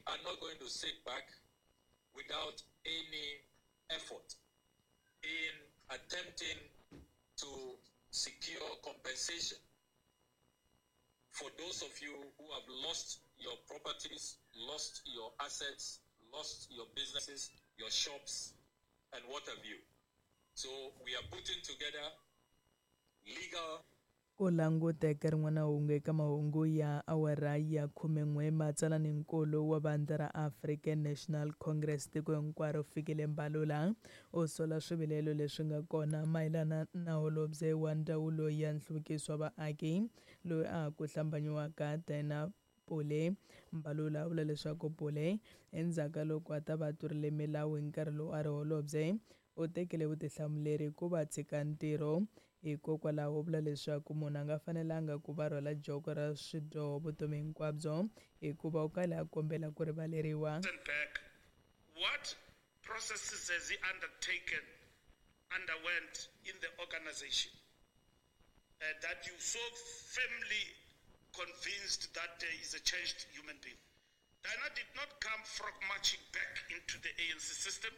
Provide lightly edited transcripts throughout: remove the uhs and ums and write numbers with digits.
are not going to sit back without any effort in attempting to secure compensation for those of you who have lost your properties, lost your assets, lost your businesses, your shops, and what have you. So we are putting together legal Ku languta eka rin'wana hungu eka mahungu ya awara ya 11, matsalaninkulu wa vandla ra African National Congress tiko hinkwaro Fikile Mbalula u sola swivilelo leswi nga kona mayelana na holobye wa ndzawulo ya nhluvukiso wa vaaki loyi a ha ku hlambanyiwaka Dina Pule. Mbalula u vula leswaku Pule endzhaku ka loko a ta va a tlurile milawu hi nkarhi lowu a ri holobye u tekile vutihlamuleri ku va tshika ntirho. Hikokwalaho u vula leswaku munhu a nga fanelanga ku va rhwala joko ra swidyoho vutomi hinkwabyo hikuva u kale a kombela ku rivaleriwa. Back, what processes has he undertaken, underwent in the organization that you so firmly convinced that there is a changed human being? Diana did not come frog marching back into the ANC system.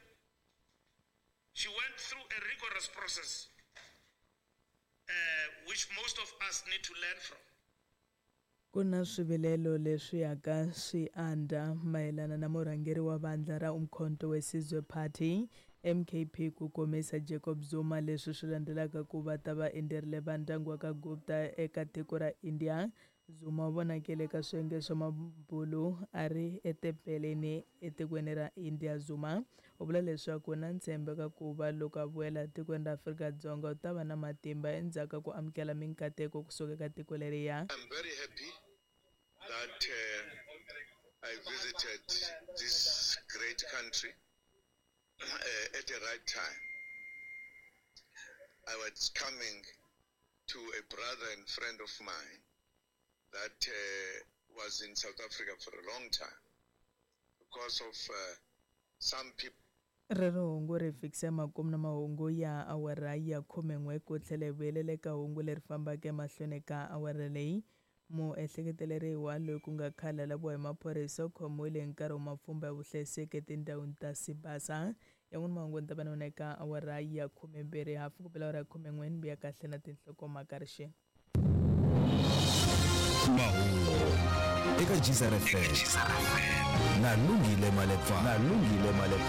She went through a rigorous process, which most of us need to learn from. Ku na swivilelo leswi yaka swi andza mayelana na murhangeri wa vandla ra Umkhonto we Sizwe Party MKP ku komisa Jacob Zuma leswi swi landzelaka ku va ta va endzerile va ndyangu wa ka Gupta eka tiko ra India. Zuma u vonakile eka swiyenge swa mabulu a ri etempeleni etikweni ra India. Zuma u vula leswaku na ntshembo eka ku va loko a vuyela etikweni ra Afrika-Dzonga u ta va na matimba endzhaku ka ku amukela minkateko kusuka eka tiko leriya. I'm very happy that I visited this great country at the right time. I was coming to a brother and friend of mine that was in South Africa for a long time because of some people. Rero hungu ri fikisa makumu na mahungu ya awara ya 11 ku tlhela hi vuyelela eka hungu leri fambaka emahlweni ka awara leyi. Muehleketeleriwa loyi ku nga khale a laviwa hi maphorisa u khomiwile hi nkarhi wa mapfhumba ya vuhlayiseki etindhawini ta Sibasa. Yan'wana mahungu ni ta va na wona eka awara ya 12 hafu ku bela awara ya 11 ni vuya kahle na tinhlokomhaka rixeni. Mahungu eka GZFM na Lungile Malepa. Na Lungile Malepa.